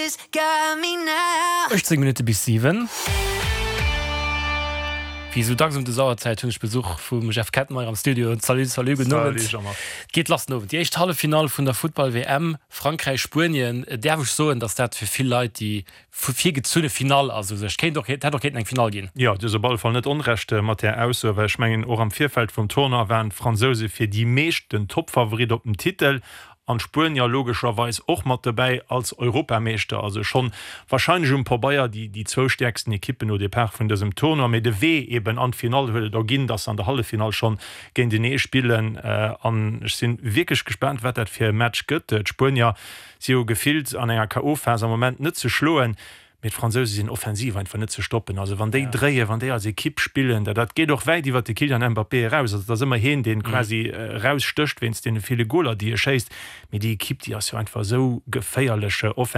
18 Minutte bis 7. Wéi esou dacks ëm des Auerzäit hunn ech Besuch vum Jeff Kettenmeyer am Studio. Salut, salut, gudden Owend. Salut Jean-Marc. Et geet lass den Owend, déi éischt Halleffinall vun der Futtball-WM, Frankräich-Spuenien. Däerf ech soen, datt dat fir vill Leit déi virgezunne Finall ass u sech? Kéint och, hätt och kéinten eng Finall ginn. Jo, du hues op alle Fall net Onrecht mat där Ausso, well ech mengen och am Virfeld vum Tournoi waren d'Fransouse fir déi meescht den Toppfavorit op den Titel An d'Spuenier logescherweis och mat dobäi als Europameeschter. Also schonn warscheinlech um Pabeier déi déi zwou stäerksten Ekippen au départ vun dësem Tournoi. Mee de Wee eben an d'Finall huet et erginn, dass se an der Halleffinall schonn géintenee spillen. An ech sinn wierklech gespaant, wat dat fir e Match gëtt. D'Spuenier si jo gefillt an enger KO-Phas am Moment net ze schloen. Mee d'Fransouse sinn offensiv einfach net ze stoppen. Also wann déi dréien, wann déi als Ekipp spillen, dat dat geet och wäit iwwert de Kylian Mbappé eraus. Also et ass ëmmer hien, deen quasi erausstécht wéinst deene ville Goler, déi e schéisst. Mee déi Ekipp, déi ass jo einfach esou geféierlech offensiv.